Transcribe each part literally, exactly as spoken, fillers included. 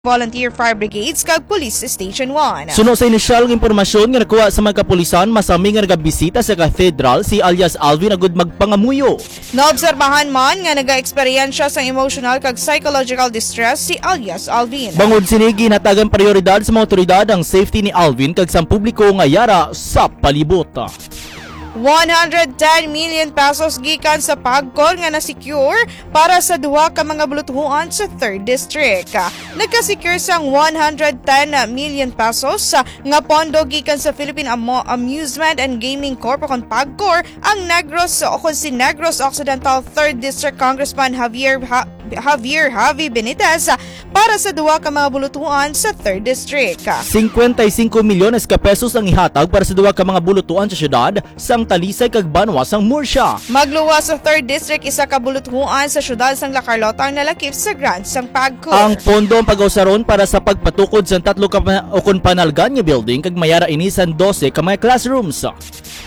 Volunteer Fire Brigades kag Police Station one. Suno sa inisyal nga impormasyon nga nakuha sa mga kapulisan, masami nga nagabisita sa katedral si alias Alvin agud magpangamuyo. Naobserbahan man nga nagaeksperyensya sang emotional kag psychological distress si alias Alvin. Bangod sini, ginhatagan prioridad sa mga otoridad ang safety ni Alvin kag sang publiko nga yara sa palibot. One hundred ten million pesos gikan sa PAGCOR nga na-secure para sa duha ka mga bulutuhan sa Third District. Nagka-secure sang one hundred ten million pesos nga pondo gikan sa Philippine Amo-, Amusement and Gaming Corp o kon PAGCOR ang Negros o kon si Negros Occidental Third District Congressman Javier Ha-, Javier Javi Benitez para sa duha ka mga bulutuhan sa Third District. Cincuenta y cinco milyones ka pesos ang ihatag para sa duha ka mga bulutuan sa siyudad sang Talisay kag banwa sang Murcia. Magluwas sa Third District isa ka bulutuan sa siyudad sang La Carlota ang nalakip sa grant sang PAGCOR. Ang pondo ang pag-usaron para sa pagpatukod sang tatlo ka pa-, o kon panalgan nga building kag mayara ini sang dose ka mga classrooms.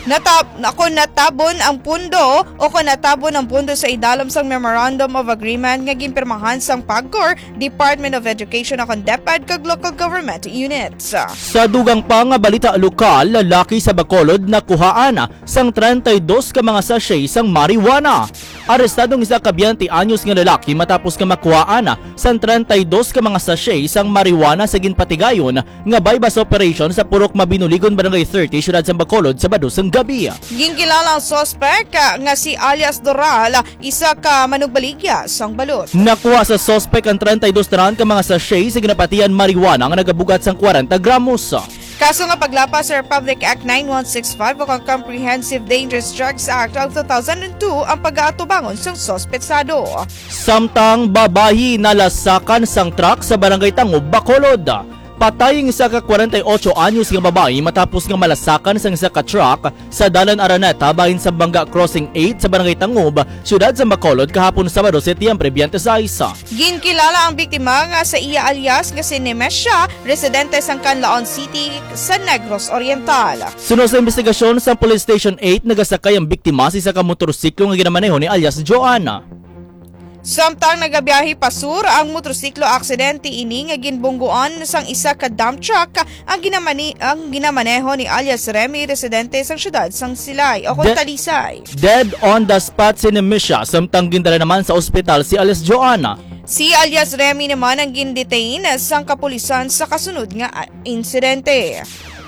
Natab-, ako natabon ang pundo o kon natabon ang pundo sa idalom sang Memorandum of Agreement nga ginpirmahan sang PAGCOR, Department of Education o kon DepEd kag local government units. Sa dugang pa nga balita lokal, lalaki sa Bacolod nakuhaan sang treinta y dos ka mga sachet sang marijuana. Arestado ang isa ka twenty anyos nga lalaki matapos nga makuhaan sang treinta y dos ka mga sachet sang marijuana sa ginpatigayon nga buy-bust operation sa Purok Mabinuligon, Barangay thirty, Siyudad sang Bacolod, Sabado sang gabi. Ginkilala ang suspek, ah, nga si alias Doral, isa ka manugbaligya sang balot. Nakuha sa suspek ang treinta y dos tanan ka mga sachet sa ginapatihan marijuana nga nagabugat sang kwarenta gramos. Kaso nga paglapas sa Republic Act nine one six five o ang Comprehensive Dangerous Drugs Act of two thousand two ang pag-aatubangon sang suspetsado. Samtang babayi nalasakan sang truck sa Barangay Tangub, Bacolod. Patay ang isa ka kwarenta y ocho anyos nga babayi matapos nga malasakan sang isa ka truck sa Dalan Araneta bahin sa Bangga Crossing eight sa Barangay Tangub, siyudad sa Bacolod, kahapon Sabado, Setyembre twenty-six. Ginkilala ang biktima nga sa iya alias nga si Nemesha, residente sang Canlaon City sa Negros Oriental. Suno sa investigasyon sa Police Station eight, nagasakay ang biktima sa isa ka motorsiklo nga ginamaneho ni alias Joanna. Samtang nagabiyahe pa sur ang motorsiklo, aksidente ini nga ginbungguan sang isa ka dump truck ang ginamani-, ang ginamaneho ni alias Remy, residente sang siyudad sang Silay o kon De-, Talisay. Dead on the spot si Nemisha, samtang gindala naman sa ospital si alias Joanna. Si alias Remy naman ang gindetain sang kapulisan sa kasunod nga, ah, insidente.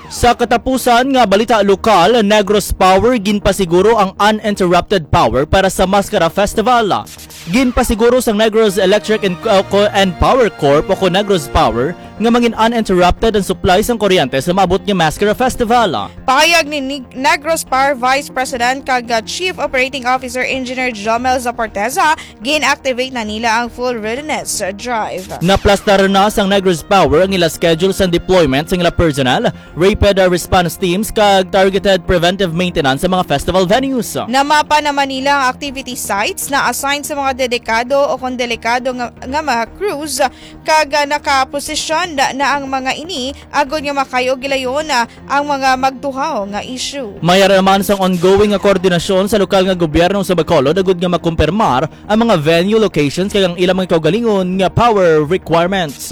Sa katapusan nga balita lokal, Negros Power ginpasiguro ang uninterrupted power para sa Mascara Festival. Ginpasiguro sang Negros Electric and, uh, Co-, and Power Corp o kon Negros Power nga mangin uninterrupted ang supply sang kuryente sa maabot nga Mascara Festival. Pahayag ni Nig-, Negros Power Vice President kag, uh, Chief Operating Officer Engineer Jomel Zaporteza, gin-activate na nila ang full readiness drive. Naplastar na sang Negros Power ang ila schedule sang deployment sang ila personnel, rapid, uh, response teams, kag targeted preventive maintenance sa mga festival venues. Namapa naman nila ang activity sites na assign sa mga dedikado o kon delikado nga, nga mga crews, kag, ah, nakaposisyon na, na ang mga ini agod nga makayo gilayon, ah, ang mga magtuhaw nga issue. Mayara naman sang ongoing nga koordinasyon sa lokal nga gobyerno sa Bacolod agud nga makumpirmar ang mga venue locations kag ang ilang mga kaugalingon nga power requirements.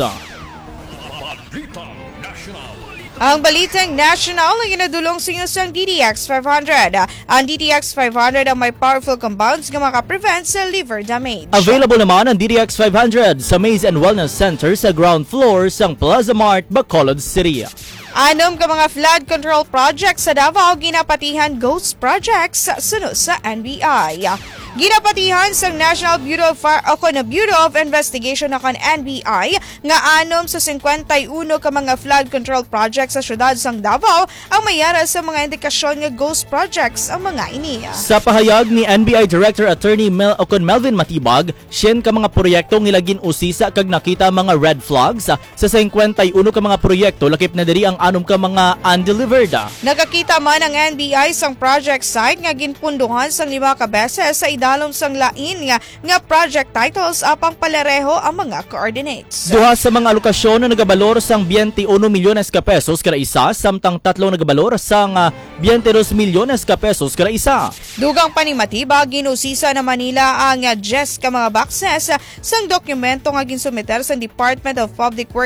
Ang balitang national ay ginadulong sa inyo sang D D X five hundred. Ang D D X five hundred ang may powerful compounds nga makaprevent sa liver damage. Available naman ang D D X five hundred sa Maze and Wellness Center sa ground floor sang Plaza Mart, Bacolod City. Anom ka mga flood control projects sa Davao ginapatihan ghost projects suno sa N B I. Ginapatihan sang National Bureau of Fire o kon Bureau of Investigation o kon N B I nga anom sa singkwenta y uno ka mga flood control projects sa siyudad sang Davao ang mayara sa mga indikasyon nga ghost projects ang mga ini. Sa pahayag ni N B I Director Attorney Mel-, o kon Melvin Matibag, syen ka mga proyekto ang ila gin-usisa kag nakita ang mga red flags. Sa singkwenta y uno ka mga proyekto, lakip na diri ang anom ka mga undelivered. Nakakita man ang N B I sang project site nga ginpundohan sang lima ka beses sa ilalom sang lain nga, nga project titles apang palareho ang mga coordinates. Duha sa mga alokasyon na nagabalor sang twenty-uno milyones ka pesos kada isa, samtang tatlo nagabalor sang ah, twenty-dos milyones ka pesos kada isa. Dugang pa ni Matiba, ginusisa na Manila ang ah, diyes ka mga boxes sang dokumento nga ginsumiter sang Department of Public Works